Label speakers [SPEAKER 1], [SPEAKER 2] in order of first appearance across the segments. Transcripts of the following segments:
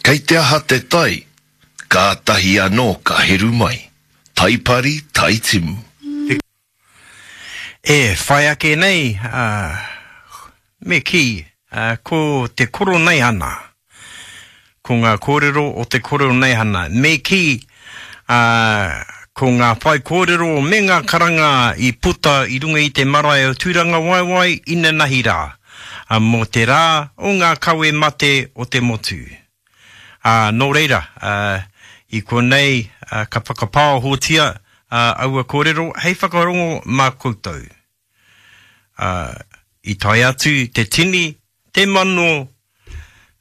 [SPEAKER 1] Kei te aha te tai, kātahi anō ka heru mai. Tai pari, tai timu.
[SPEAKER 2] E whai ake nei, ā, me kī, ko te Koroneihana, ko ngā kōrero o te Koroneihana, me kī, ā, ko ngā whaikōrero me ngā karanga i puta i runga i te marae o Tūrangawaewae inanahi rā, ā, mō te rā o ngā kawe mate o te motu. Ā, nō reira, ā, i konei, ā, ka whakapāohotia, ā, aua kōrero hei whakarongo mā koutou. Ā, i tae atu te tini, te mano,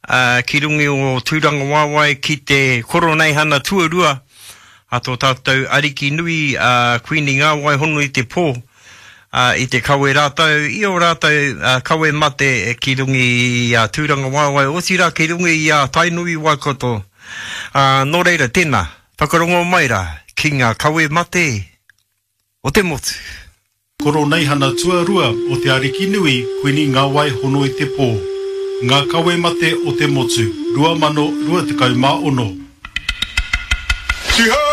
[SPEAKER 2] ā, ki runga o Tūrangawaewae ki te Koroneihana tuarua a tō tātou Ariki nui, a Kuini Ngāwai Hono i te Pō, ā, i te kawe rātou i ō rātou kawe mate ki runga i a Tūrangawaewae, otirā ki runga i a Tainui Waikato. Ā, nō reira, tēnā, whakarongo mai rā ki ngā kawe mate o te motu.
[SPEAKER 3] Koroneihana tuarua o Te Arikinui Kuini Ngawai Hono i te Pō, Ngā Kawe Mate o te Motu, 2026.
[SPEAKER 4] Tihei!